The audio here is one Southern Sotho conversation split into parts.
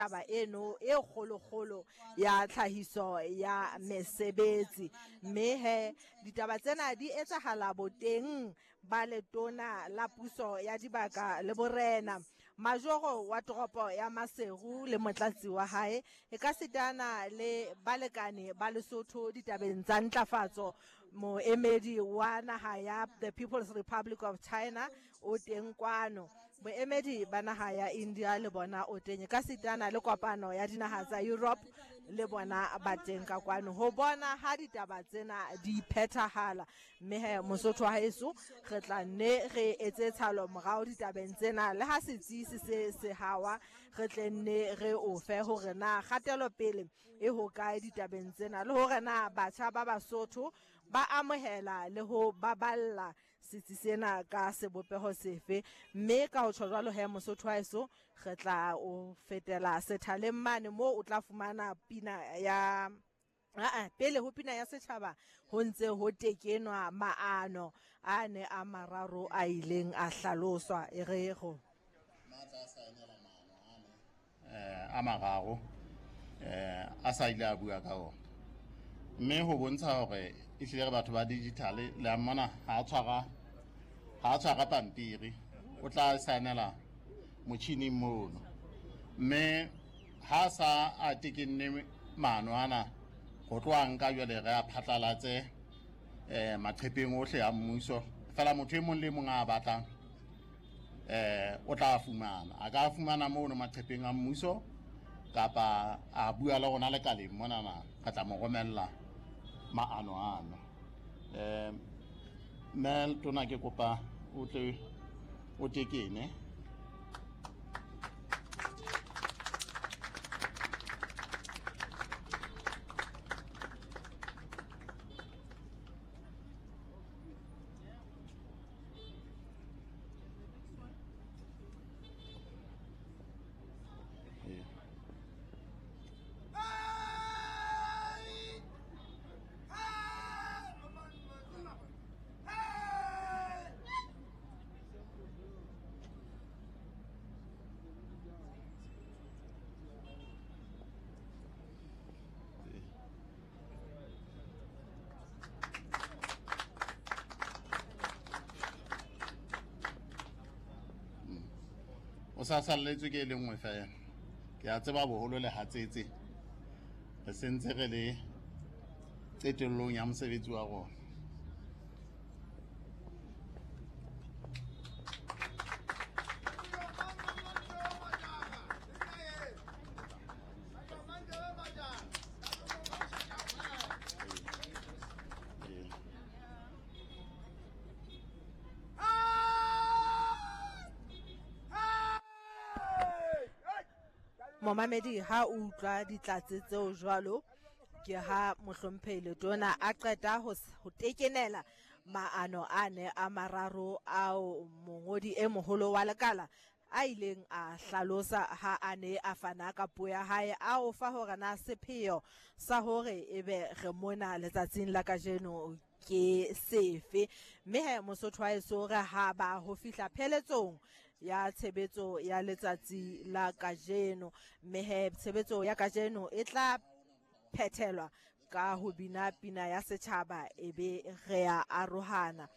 Taba eno e kgolokgolo ya tlhahiso ya mesebetsi. Mme he ditaba tsena di etsahala boteng ba letona la puso ya dibaka le borena, majoro wa toropo ya Maseru le motlatsi wa hae, e ka sitana le balekane ba Lesotho ditabeng tsa ntlafatso. Moemedi wa naha ya The People's Republic of China o teng kwano. Boemedi ba naha ya India le bona o teng, ka sitana le kopano ya dinaha tsa Europe le bona ba teng ka kwano ho bona ha ditaba tsena di phethahala. Mme he Mosotho wa heso, re tla nne re etse tshalo morao ditabeng tsena, le ha setsi se se se hawa, re tle nne re o fe hore na kgatelopele e hokae ditabeng tsena, le hore na batjha ba Basotho ba amohela le ho baballa setsi sena ka sebopeho sefe. Mme ka ho tjho jwalo he Mosotho wa heso, re tla o fetela sethaleng mane moo o tla fumana pina ya aa pele ho pina ya setjhaba ho ntse ho tekenwa maano a ne a mararo a ileng a hlaloswa. E re go Matla a saenela maano ane a mararo a sa ile a bua ka ona, mme ho bontsha hore ehlile re batho ba digital. Le a mmona ha a tshwara, ha a tshwara pampiri, o tla saenela motjhining mono, mme ha sa a tekenne maano ana ho tloha nka jwale re a phatlalatse maqepheng ohle a mmuso. Fela motho e mong le mong a batlang o tla fumana, a ka fumana mono maqepheng a mmuso kapa a bua le rona lekaleng monana, re tla mo romella maano ano. Mme tona, ke kopa o tle o tekene. O sa salletswe ke e le nngwe fela. Ke a tseba boholo le hatsetse, re sentse re le qetellong ya mosebetsi wa rona. Momamedi, ha o utlwa ditlatse tseo jwalo, ke ha mohlomphehi letona a qeta ho tekenela maano a ne a mararo ao mongodi e moholo wa lekala a ileng a hlalosa ha a ne a fana ka puo ya hae, a o fa hore na sepheo sa hore ebe re mona letsatsing la kajeno ke sefe. Mme he Mosotho wa heso, re ha ba ho fihla pheletsong ya tshebetso ya letsatsi la kajeno, mme he tshebetso ya kajeno e tla phethelwa ka ho bina pina ya setjhaba, e be re a arohana.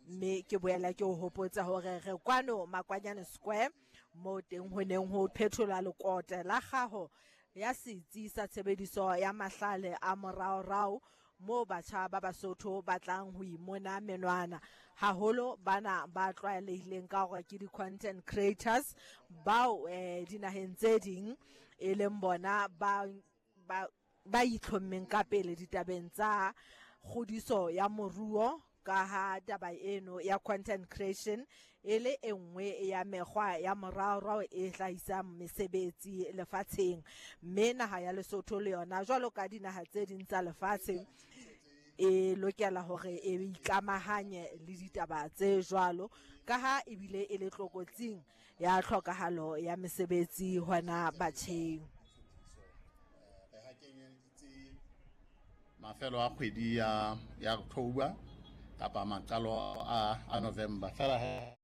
Mme ke boela ke o hopotsa hore re kwano Makwanyane Square, mo teng ho neng ho phetholwa lekote la kgaho ya setsi sa tshebediso ya mahlale a moraorao, moo batjha ba Basotho ba tlang ho imona menwana haholo, bana ba tlwaelehileng ka hore ke di-content creators bao dinaheng tse ding e leng bona ba ba ba itlhommeng ka pele ditabeng tsa kgodiso ya moruo, ka ha taba eno ya content creation e le e nngwe ya mekgwa ya moraorao e hlahisang mesebetsi lefatsheng. Mme naha ya Lesotho le yona, jwalo ka dinaha tse ding tsa lefatshe, e lokela hore e ikamahanye le ditaba tse jwalo, ka ha ebile e le tlokotsing ya tlhokahalo ya mesebetsi hona batjheng. Re ha kenyeditse mafelo a kgwedi ya October kapa maqalo a November fela he.